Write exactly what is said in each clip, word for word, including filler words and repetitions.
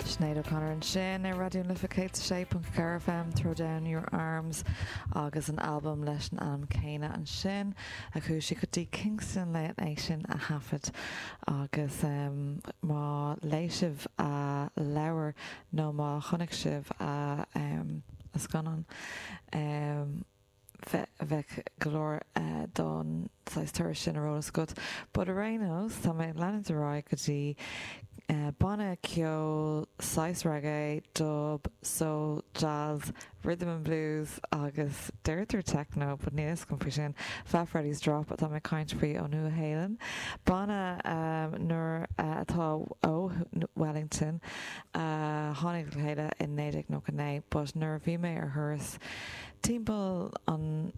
Sinéad O'Connor ansin ar Raidió na Life céad sé ponc ceathair F M, Throw Down Your Arms, agus an album leis an ainm céanna ansin a chuaigh sí go dtí Kingston le é sin a thaifead. Agus um, má léigh sibh a leabhar nó má chonaic sibh a um, a scannán, um, bheadh go leor uh, don turas sin ar eolas agat. But ar aon nós, tá mé leanúint ar aghaidh go dtí uh, banna ceol saghas reggae, dub, soul, jazz, rhythm and blues agus deirtear techno, but níl fhios agam faoi sin. Fat Freddy's Drop atá mé caint faoi ó Nua-Shéalainn. Banna um, nuair uh, atá ó Wellington uh, tháinig le chéile in naoi déag nócha naoi, but nuair a bhí mé ar thuras timpeall an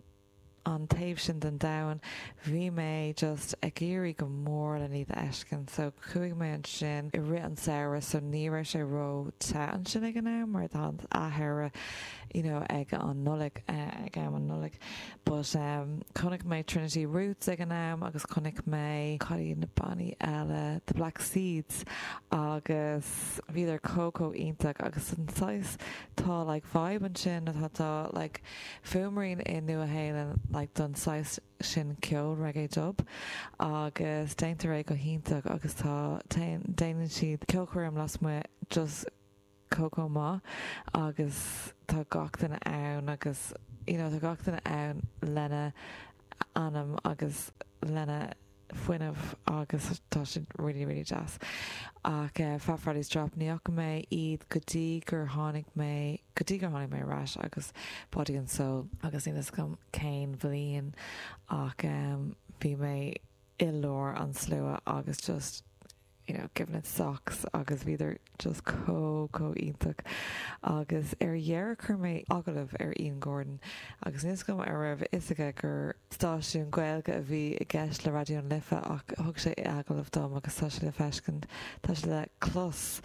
an taobh sin den domhan, bhí mé just ag iarraidh go mór le iad a fheiscint. So chuaigh mé ansin i rith an samhradh, so ní raibh sé ró-the ansin ag an am mar tá athair you know ag an Nollaig, uh, ag am an Nollaig. But um, chonaic mé Trinity Roots ag an am agus chonaic mé cad na bannaí eile, The Black Seeds, agus bhíodar chomh chomh iontach. Agus an saghas tá like vibe ansin atá tá like fuaimrian i Nua-Shéalainn like don saghas sin ceol reggae dub, agus déantar é go hiontach agus tá déanann siad ceolchoirm lasmuigh just chomh maith agus tá gach duine ann agus you know, tá gach duine ann lena anam agus lena fuinneamh agus tá sin really really deas. Ach uh, Fat Freddy's Drop, ní fhaca mé iad go dtí gur tháinig mé go dtí gur tháinig mé ar ais agus Body and Soul, agus níl fhios agam cén bhliain, ach um, bhí mé i lár an slua agus just you know, giving it socks agus bhíodar just chomh chomh iontach. Agus ar dheireadh chuir mé agallamh ar Ian Gordon agus níl fhios agam an raibh fhios aige gur stáisiún Gaeilge a bhí i gceist le Raidió na Life, ach thug sé agallamh dom agus tá sé le feiscint, tá sé le clos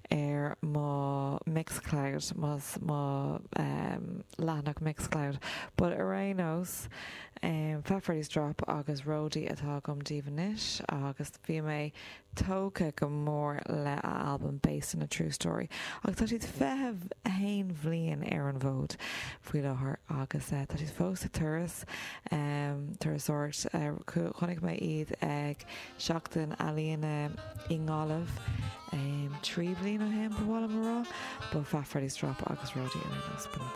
ar mo Mixcloud, más mo um, leathanach Mixcloud. But ar aon nós, um, Fat Freddy's Drop agus Roadie atá agam daoibh anois, agus bhí mé tógtha go mór le a album Based on a True Story. Ach tá siad fiche haon bhliain ar an bhfód faoi láthair agus uh, tá siad fós ag turas um, turasóireacht. uh, chonaic mé iad ag Seachtain Ealaíona i nGaillimh um, trí bliana ó shin, ba mhaith liom a rá. Ba Fat Freddy's Drop agus Roadie ar nós.